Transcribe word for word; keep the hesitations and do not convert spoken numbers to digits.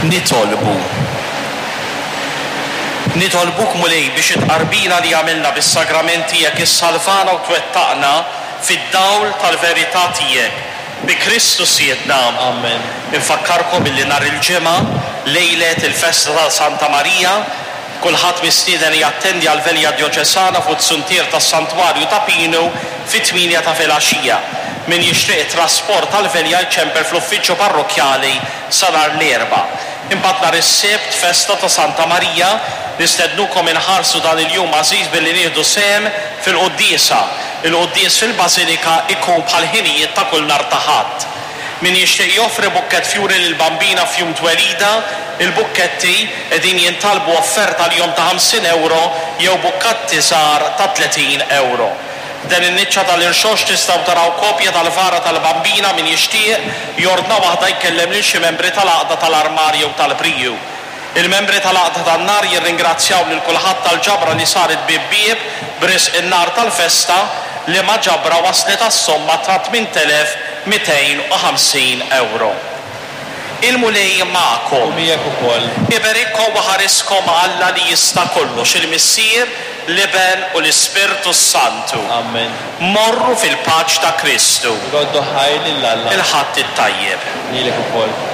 Nitolbu. Nitolbuk, Mulej, biex it-tqarbina li għamilna bis-sagrament tiegħek issalvana u twettaqna fid-dawl tal-verità tiegħek. Bi Kristu Sidna. Amen. Infakkarkom illi nhar il-Ġimgħa, lejlet il-festa ta' Santa Marija, kulħadd mistieden jattendi għal velja djoċesana fuq is-suntier tas-Santwarju ta' Pinu fit-tmienja ta' filgħaxija. Min jixtieq trasport tal-velja jċempel fl-uffiċċju parrokkjali sa nhar l-Erbgħa. Imbagħad nhar is-Sibt, festa ta' Santa Marija, nistednukom inħarsu dan il-jum għażiż billi nieħdu sehem fil-quddiesa. Il-quddies fil-Bażilika ikun bħal ħinijiet ta' kull nhar ta' Ħadd. Min jixtieq joffri bukkett fjuri lill-Bambina f'jum twelida, il-bukketti qegħdin jintalbu offerta l-jum ta' ħamsin euro jew bukketti żgħar ta' tletin euro. Dan in-niċċa tal-Irxoxt tistgħu taraw kopja tal-vara tal-Bambina. Min jixtieq jordna waħda jkellem lil xi membri tal-Għaqda tal-Armar jew tal-Briju. Il-membri tal-Għaqda tan-Nar jirringrazzjaw lil kulħadd tal-ġabra li saret bieb bieb b'risq in-nar tal-festa, li ma ġabra waslet għas-somma ta' tmien elef mitejn u ħamsin euro. Il-Mulej magħkom. U miegħek ukoll. Iberikkom u ħariskom Alla li jista' kollox, il-Missier, l-Iben u l-Ispirtu Santu. Amen. Morru fil-paċi ta' Kristu. Roddu ħajr lil Alla. Il-Ħadd it-tajjeb. Lilek ukoll.